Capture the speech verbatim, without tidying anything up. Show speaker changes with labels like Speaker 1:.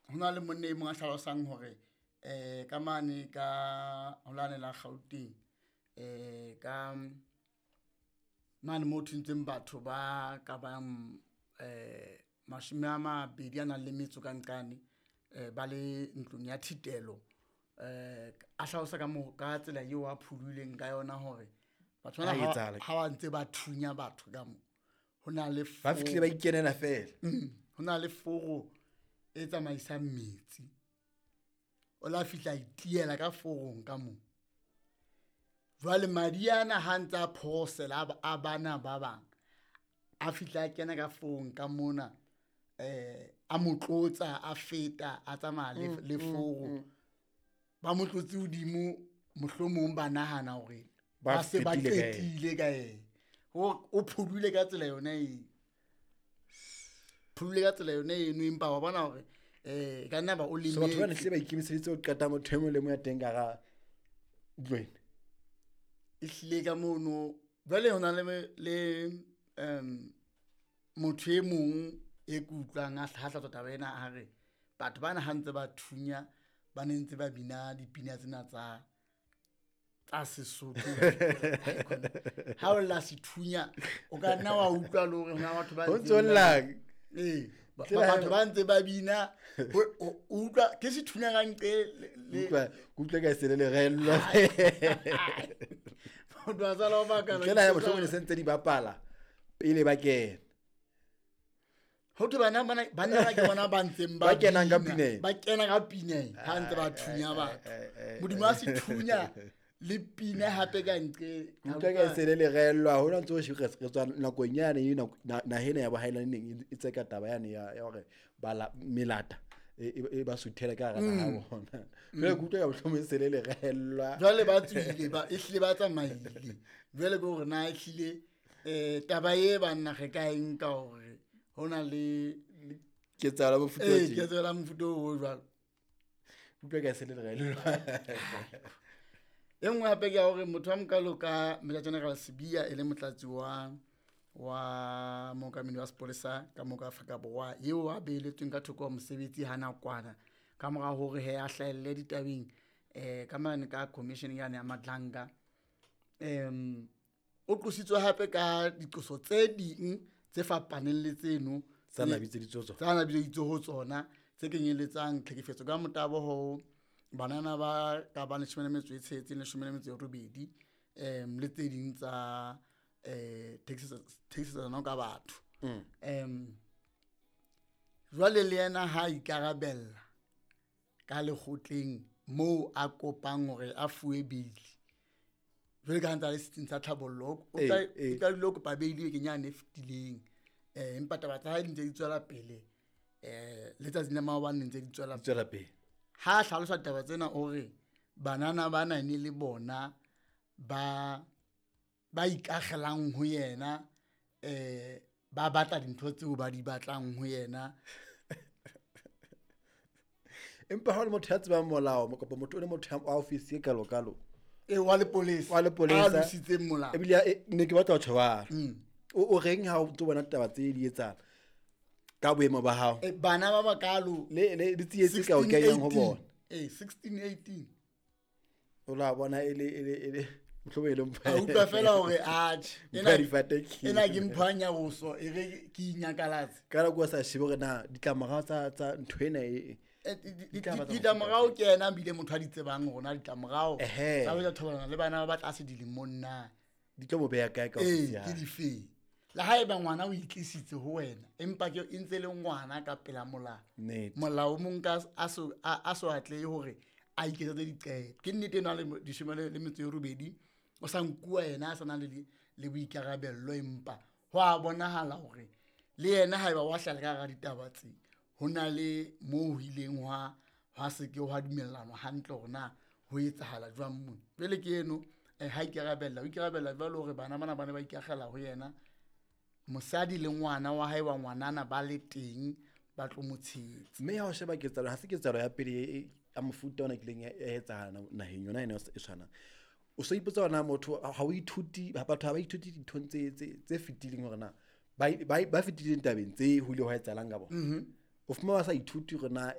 Speaker 1: Ho na le monna e mong a hlalosang hore um ka mane ka ho lane la Gauteng, um ka mane mo thuntseng batho ba ka bang um mashome a mabedi a nang le metso ka nqane, um ba le ntlong ya thitelo. um A hlalosa ka mo ka tsela eo a pholohileng ka yona hore batho bana
Speaker 2: Ha
Speaker 1: ha
Speaker 2: etsahala.
Speaker 1: Ha ba ntse ba thunya batho ka mo, ho na le
Speaker 2: Ba fihlile ba ikenela fela.
Speaker 1: Mm, ho na le foro e tsamaisang metsi, o la fihla a itiela ka forong ka moo. Jwale madi ana ha ntse a phorosela a ba- a bana ba bang, a fihla a kena ka forong ka mona, eh a mo tlotsa, a feta, a tsamaya le, le foro. Ba mo tlotse hodimo, mohlomong ba nahana hore
Speaker 2: Ba
Speaker 1: ba se ba
Speaker 2: fetile ka yena.
Speaker 1: Qetile ka yena. O o phodule ka tsela yona eo, phodule ka tsela yona eno, empa wa bona hore um ka nna ba o
Speaker 2: So batho ba ne
Speaker 1: lemetse.
Speaker 2: Hlile ba ikemiseditse ho qeta motho e mong le mong ya teng ka hara ntlo ena.
Speaker 1: E hlile ka mono jwale ho na le le um motho e mong e ke utlwang a hlatswa taba ena, a re batho bana ha ntse ba thunya, ba ne ntse ba bina dipina tsena tsa tsa Sesotho. Ha o lla sethunya, o ka nna wa utlwa le hore hona batho ba
Speaker 2: Ho
Speaker 1: ntseng
Speaker 2: ntso
Speaker 1: ba-
Speaker 2: llang.
Speaker 1: Ee, ba-
Speaker 2: Tsela
Speaker 1: batho ba ntse ba bina. ho- o o utlwa ke sethunya ka nqe le- le-
Speaker 2: Utlwa, ke utlwa ka se le lerellwa.
Speaker 1: Motho a sala o makala.
Speaker 2: Ntle le ha mohlomong ne se ntse di bapala pele ba kena.
Speaker 1: Ho thwe bana bana banna ba ke bona ba ntseng ba
Speaker 2: Ba kenang ka
Speaker 1: bina,
Speaker 2: pineng.
Speaker 1: Ba kena ka pineng ha ntse ba thunya batho modimo a sethunya le pina hape ka nqe.
Speaker 2: Ke utlwa ka se le lerellwa hona ntse o re re tswa nakong yane e nako- na- naha ena ya bohaelane neng e tseka taba yane ya ya hore bala melata e e- e ba suthela ka hara naha ya bona. Jwale ke utlwa ka mohlomong e se le lerellwa.
Speaker 1: Jwale ba tswile, ba ehlile ba tsamaile. Jwale ke hore na ehlile um taba e banna re ka e nka hore ho na le
Speaker 2: ketsahalo ya mofuta o
Speaker 1: ee
Speaker 2: tje.
Speaker 1: Ketso la mofuta o jwalo.
Speaker 2: Utlwa ka se le lerellwa.
Speaker 1: E nngwe hape ke ya hore motho wa mokalo ka Major General Sibiya, e le motlatsi wa wa mookamedi wa sepolesa ka mo ka Afrika Borwa, eo a beheletsweng ka thoko ho mosebetsi ha nakwana ka mora hore he a hlahelle ditabeng um ka mane ka commission yane ya Madlanga, um o qositswe hape ka diqoso tse ding tse fapaneng le tseno
Speaker 2: Tsa na bitseditswe ho tsona.
Speaker 1: Tsa na bitseditswe ho tsona, tse kenyelletsang tlhekefetso ka motabo ho banana ba ka bang leshome le metso e tsheletseng, leshome le metso e robedi, um le tse ding tsa um thekisetsano ka batho. um jwale le yena ha a ikarabella ka lekgotleng moo a kopang hore a fuwe beili, jwale ka ha ntse a le setsing sa tlhabollo, o
Speaker 2: Ee,
Speaker 1: tla-
Speaker 2: ee.
Speaker 1: o qadile ho kopa beili bekeng yane e fetileng, um empa taba tsa hae di ntse di tswela pele, um letsatsing la maobane ntse di tswela.
Speaker 2: Tswela pele.
Speaker 1: Ha a hlalosa ditaba tsena, o re banana ba na ne le bona ba ba ikakgelang ho yena, um ba batla dintho tseo ba di batlang ho yena.
Speaker 2: Empa ha o le motho ya tsebang molao kapa motho o le motho wa ofisi e kalo kalo,
Speaker 1: e wa lepolesa,
Speaker 2: wa lepolesa,
Speaker 1: a lositseng molao.
Speaker 2: Ebile e- ne ke batla ho tjho jwalo.
Speaker 1: Mm.
Speaker 2: o o reng ha o tlo bona taba tse di etsahala ka boemo ba hao?
Speaker 1: Eh, bana ba bakalo.
Speaker 2: Le le di tsietsi ka o kenyang ho bona.
Speaker 1: Eh, sixteen, eighteen.
Speaker 2: O la bona e le e le e le mohlomong e le mpho.
Speaker 1: A utlwa fela hore atjhe,
Speaker 2: Mpho ya difate ke-
Speaker 1: ena ke mpho ya nyaroso, e re ke inyakalatse.
Speaker 2: Ka nako o sa shebe hore na ditlamorao tsa tsa ntho ena e
Speaker 1: Eh, di- di-
Speaker 2: Ditaba tsa
Speaker 1: ditlamorao
Speaker 2: mofuta
Speaker 1: ke yena ebile motho a di tsebang hore na ditlamorao
Speaker 2: Ehe.
Speaker 1: tsa ho etsa thobalano le bana ba ba tlase dilemong na
Speaker 2: di tlo mo beha kae ka
Speaker 1: ee
Speaker 2: ofisi ya
Speaker 1: ke
Speaker 2: hae.
Speaker 1: Difeng le ha eba ngwana o itlisitse ho wena, empa ke e ntse le ngwana ka pela molao.
Speaker 2: Nnete.
Speaker 1: Molao o mong ka a so a a so atlehe hore a iketsetse diqeto. Ke nnete ena le leshome le le metso e robedi o sa nkuwa yena a sa na le di- le boikarabello, empa ho a bonahala hore le yena haeba wa hlala ka hara ditaba tse, ho na le moo ho ileng hwa hwa se ke hwa dumellanwa hantle hore na ho etsahala jwang mona. Jwale ke eno, eh, ha ikarabella, o ikarabella jwalo hore bana bana ba ne ba ikakgela ho yena, mosadi le ngwana wa hae wa ngwanana ba le teng ba tlo mo tshehetsa.
Speaker 2: Mme ha o sheba ketsahalo, ha se ketsahalo ya pele e- e- ya mofuta ona kileng ya ya etsahala na- naheng yona ena e tshwanang. O so ipotsa hore na motho ha o ithuti, batho ha ba ithuti dinthong tse tse tse fetileng, hore na ba ba ba fetileng tabeng tse ho ile hwa etsahalang ka bona. O fumana ba sa ithuti hore na